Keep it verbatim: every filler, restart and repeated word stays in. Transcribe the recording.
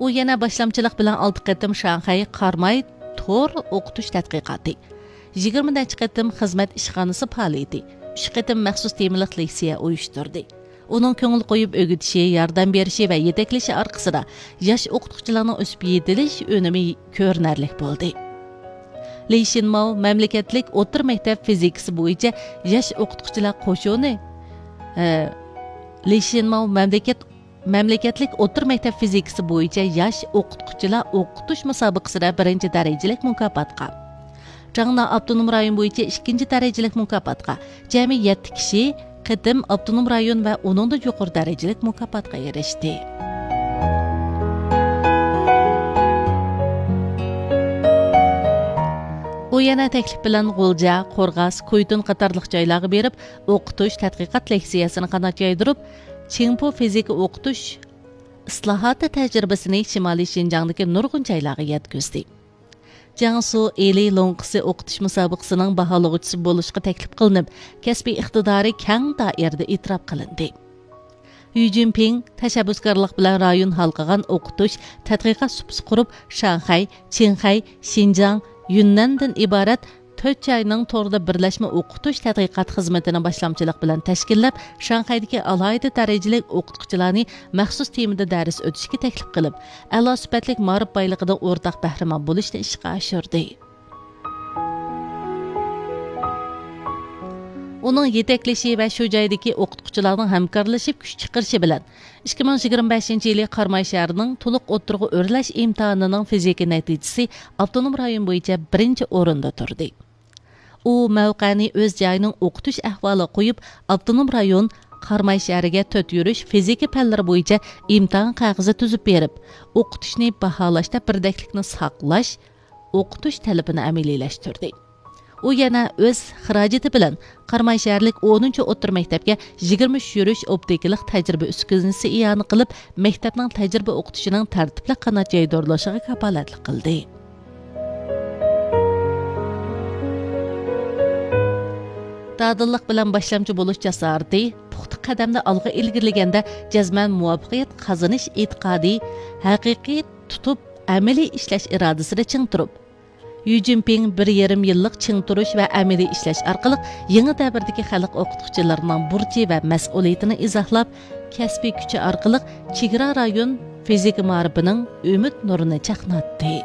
ئۇ يەنە باشلامچىلىق بىلەن ئالتە قېتىم شاڭخەي قاراماي تور ئوقۇتۇش تەتقىقاتى، يىگىرمە نەچچە قېتىم خىزمەت ئىشخانىسى پائالىيىتى، ئۈچ قېتىم مەخسۇس تېمىلىق لېكسىيە ئۇيۇشتۇردى. ئۇنىڭ كۆڭۈل قويۇپ ئۆگىتىشى، ياردەم بېرىشى ۋە يېتەكلىشى ئارقىسىدا ياش ئوقۇتقۇچىلارنىڭ ئۆسۈپ يېتىلىش ئۈنۈمى كۆرۈنەرلىك بولدى. لى شىنماۋ مەملىكەتلىك ئوتتۇرا مەكتەپ فىزىكىسى بويىچە ياش ئوقۇتقۇچىلار قوشۇنى، ئە، لى شىنماۋ مەملىكەت مەملىكەتلىك ئوتتۇرا مەكتەپ فىزىكىسى بويىچە ياش ئوقۇتقۇچىلار ئوقۇتۇش مۇسابىقىسىدە بىرىنچى دەرىجىلىك مۇكاپاتقا، جاڭنا ئاپتونوم رايون بويىچە ئىككىنچى دەرىجىلىك مۇكاپاتقا، جەمئىي يەتتە كىشى قېتىم ئاپتونوم رايون ۋە ئۇنىڭدىن يۇقىرى دەرىجىلىك مۇكاپاتقا ئېرىشتى. ئۇ يەنە تەكلىپ بىلەن غۇلجا، قورغاس، كۇيتۇن قاتارلىق جايلارغا بېرىپ، ئوقۇتۇش، تەتقىقات لېكسىيەسىنى قانات يايدۇرۇپ، چىڭپۇ فىزىكا ئوقۇتۇش ئىسلاھاتى تەجرىبىسىنى شىمالىي شىنجاڭدىكى نۇرغۇن جايلارغا يەتكۈزدى. جياڭسۇ ئىلى لوڭقىسى ئوقۇتۇش مۇسابىقىسىنىڭ باھالىغۇچىسى بولۇشقا تەكلىپ قىلىنىپ، كەسپىي ئىقتىدارى كەڭ دائىرىدە ئېتىراپ قىلىندى. يۈ جىنپىڭ تەشەببۇسكارلىق بىلەن رايون ھالقىغان ئوقۇتۇش، تەتقىقات سۇپىسى قۇرۇپ، شاڭخەي، چىڭخەي، شىنجاڭ، يۈننەندىن ئىبارەت تۆت جاينىڭ تورىدا بىرلەشمە ئوقۇتۇش تەتقىقات خىزمىتىنى باشلامچىلىق بىلەن تەشكىللەپ، شاڭخەيدىكى ئالاھىدە دەرىجىلىك ئوقۇتقۇچىلارنى مەخسۇس تېمىدا دەرس ئۆتۈشكە تەكلىپ قىلىپ، ئەلا سۈپەتلىك مائارىپ بايلىقىدىن ئورتاق بەھرىمەن بولۇشنى ئىشقا ئاشۇردى. ئۇنىڭ يېتەكلىشى ۋە شۇ جايدىكى ئوقۇتقۇچىلارنىڭ ھەمكارلىشىپ كۈچ چىقىرىشى بىلەن، ئىككى مىڭ يىگىرمە بەشىنچى يىلى قاراماي شەھىرىنىڭ تولۇق ئوتتۇرىغا ئۆرلەش ئىمتىھانىنىڭ فىزىكا نەتىجىسى ئاپتونوم رايون بويىچە بىرىنچى ئورۇندا تۇردى. ئۇ مەۋقەنى ئۆز جايىنىڭ ئوقۇتۇش ئەھۋالىغا قويۇپ، ئاپتونوم رايون قاراماي شەھىرىگە تۆت يۈرۈش فىزىكا پەنلىرى بويىچە ئىمتىھان قەغىزى تۈزۈپ بېرىپ، ئوقۇتۇشنى باھالاشتا بىردەكلىكنى ساقلاش، ئوقۇتۇش تەلىپىنى ئەمەلىيلەشتۈردى. ئۇ يەنە ئۆز خىراجىتى بىلەن قاراماي شەھەرلىك ئونىنچى ئوتتۇرا مەكتەپكە يىگىرمە ئۈچ يۈرۈش ئوپتىكىلىق تەجرىبە ئۈسكۈنىسى ئىئانە قىلىپ، مەكتەپنىڭ تەجرىبە ئوقۇتۇشىنىڭ تەرتىپلىك قانات يايدۇرۇلۇشىغا كاپالەتلىك قىلدى. دادىللىق بىلەن باشلامچى بولۇش جاسارىتى، پۇختا قەدەمدە ئالغا ئىلگىرىلىگەندە جەزمەن مۇۋەپپەقىيەت قازىنىش ئېتىقادى، ھەقىقىي تۇتۇپ ئەمەلىي ئىشلەش ئىرادىسىدە چىڭ تۇرۇپ، يۈ جىنپىڭ بىر يېرىم يىللىق چىڭ تۇرۇش ۋە ئەمەلىي ئىشلەش ئارقىلىق يېڭى دەۋردىكى خەلق ئوقۇتقۇچىلىرىنىڭ بۇرچى ۋە مەسئۇلىيىتىنى ئىزاھلاپ، كەسپىي كۈچى ئارقىلىق چېگرا رايون فىزىكا مائارىپىنىڭ ئۈمىد نۇرىنى چاقناتتى.